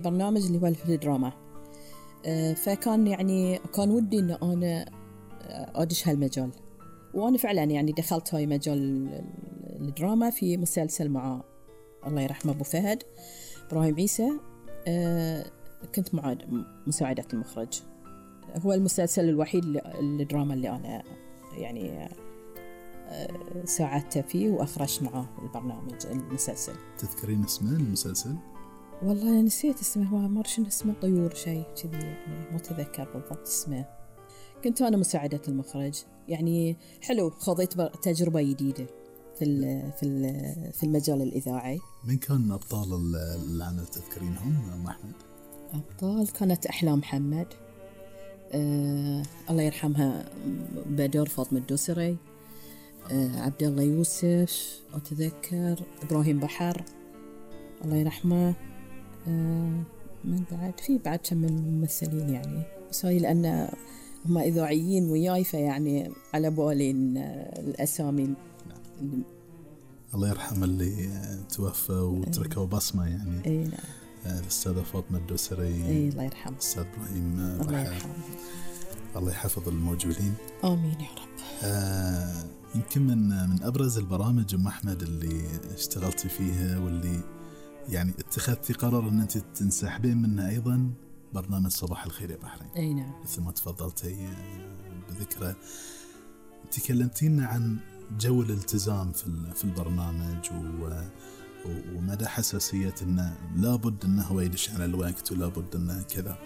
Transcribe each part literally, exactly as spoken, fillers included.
برنامج اللي هو الدراما. فكان يعني كان ودي إن أنا أدش هالمجال، وأنا فعلا يعني دخلت هاي مجال الدراما في مسلسل مع الله يرحمه أبو فهد إبراهيم عيسى. كنت معاد مساعدة المخرج. هو المسلسل الوحيد الدراما اللي أنا يعني ساعدت فيه وأخرجت معه البرنامج المسلسل. تذكرين اسمه المسلسل؟ والله نسيت اسمه، هو مرشن اسمه طيور شيء كذي يعني، ما تذكر بالضبط اسمه. كنت أنا مساعدة المخرج، يعني حلو، خضيت تجربة جديدة في في في المجال الإذاعي. من كان أبطال العمل تذكرينهم أم أحمد؟ أبطال كانت أحلام محمد، أه الله يرحمها، بدر فاطمة الدوسري، أه عبد الله يوسف، أتذكر إبراهيم بحر الله يرحمه. أه من بعد في بعد كم من الممثلين يعني، بس هاي لأن هم إذاعيين وياي فيعني على بالي الأسامي. نعم. الله يرحم اللي توفى وتركوا بصمة يعني. أي نعم. الأستاذة فاطمة الدوسري. أي الله يرحمه. الأستاذ إبراهيم الله يرحمه. الله يحفظ الموجودين. آمين يا رب. آه يمكن من من أبرز البرامج أم أحمد اللي اشتغلتي فيها واللي يعني اتخذتي قرار أن أنت تنسحبين منها أيضا برنامج صباح الخير يا بحرين. أي نعم. مثل ما تفضلتي بذكره، تكلمتينا عن جو الالتزام في في البرنامج ومدى حساسية أنه لابد أنه هو يدش على الوقت ولابد أنه كذا.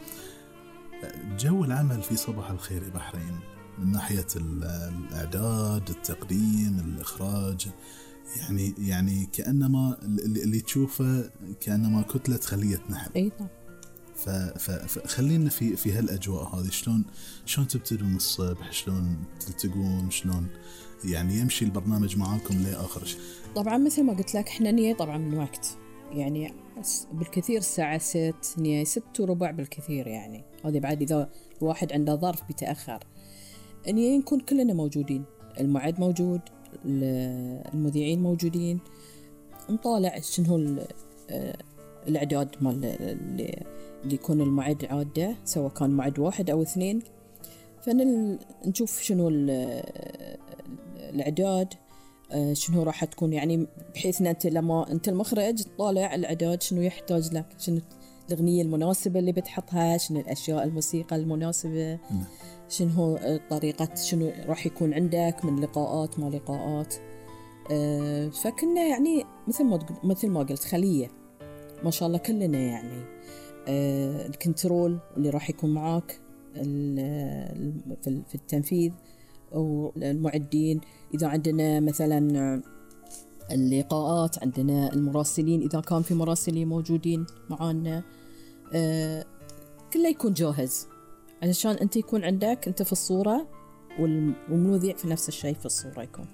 جو العمل في صباح الخير يا بحرين من ناحية الإعداد، التقديم، الإخراج، يعني يعني كأنما اللي تشوفه كأنما كتلة خلية نحل. أي نعم. فخلينا في في هالأجواء هذه، شلون شلون تبتدون من الصبح، شلون تلتقون، شلون يعني يمشي البرنامج معاكم لآخر شيء. طبعا مثل ما قلت لك احنا نية طبعا من وقت يعني بالكثير الساعة ست نية ست وربع بالكثير يعني، هذه بعد إذا الواحد عنده ظرف بيتأخر نية نكون كلنا موجودين، المعد موجود، المذيعين موجودين، نطالع شنو الإعداد مال اللي يكون المعد عادة، سواء كان معد واحد أو اثنين، فنشوف شنو الإعداد، شنو راح تكون يعني، بحيث أن أنت لما أنت المخرج تطالع الإعداد شنو يحتاج لك، شنو الأغنية المناسبة اللي بتحطها، شنو الأشياء الموسيقى المناسبة، شنو طريقة، شنو راح يكون عندك من لقاءات ما لقاءات. فكنا يعني مثل ما مثل ما قلت خلية ما شاء الله كلنا يعني. الكنترول اللي راح يكون معاك في التنفيذ، والمعدين إذا عندنا مثلا اللقاءات، عندنا المراسلين إذا كان في مراسلين موجودين معانا، كله يكون جاهز علشان أنت يكون عندك أنت في الصورة والمذيع في نفس الشيء في الصورة يكون.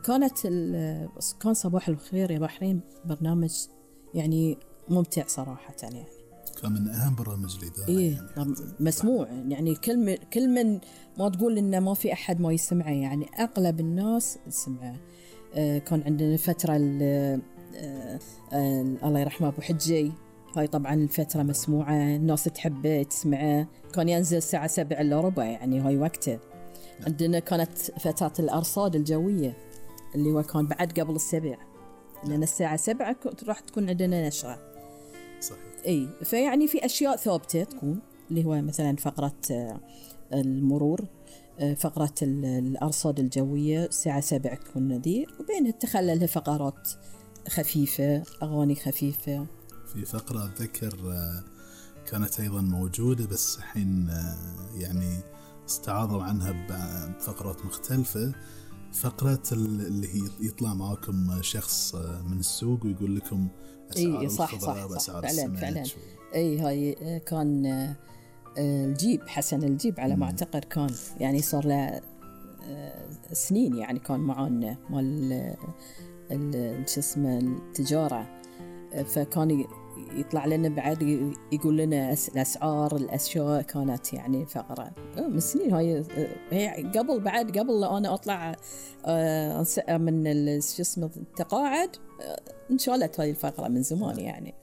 كانت كان صباح الخير يا بحرين برنامج يعني ممتع صراحة يعني، كان من أهم برامج الإذاعة. إيه يعني مسموع يعني، كل كل من ما تقول إنه ما في أحد ما يسمعه يعني، أغلب الناس يسمعه. آه كان عندنا فترة آه آه الله يرحمه أبو حجي، هاي طبعا الفترة مسموعة، الناس تحب تسمعه، كان ينزل الساعة سبعة إلا ربع يعني هاي وقته. عندنا كانت فترة الأرصاد الجوية اللي هو كان بعد قبل السبع، لأن الساعة سبعة راح تكون عندنا نشرة. صحيح. اي فيعني في اشياء ثابته تكون، اللي هو مثلا فقره المرور، فقره الارصاد الجويه الساعه سبعة تكون ذي، وبينها تخللها فقرات خفيفه، اغاني خفيفه. في فقره اتذكر كانت ايضا موجوده بس الحين يعني استعاضوا عنها بفقرات مختلفه، فقرة اللي هي يطلع معاكم شخص من السوق ويقول لكم أسعار إيه صح الخضار وأسعار السمك. إيه هاي كان الجيب حسن الجيب على ما أعتقد، كان يعني صار له سنين يعني كان معانا مال شو اسمه التجارة، فكان يطلع لنا بعد يقول لنا الأسعار الأشياء، كانت يعني فقرة من سنين هاي، هي قبل بعد قبل أنا أطلع من شو اسمه التقاعد انشالت هاي الفقرة من زمان يعني.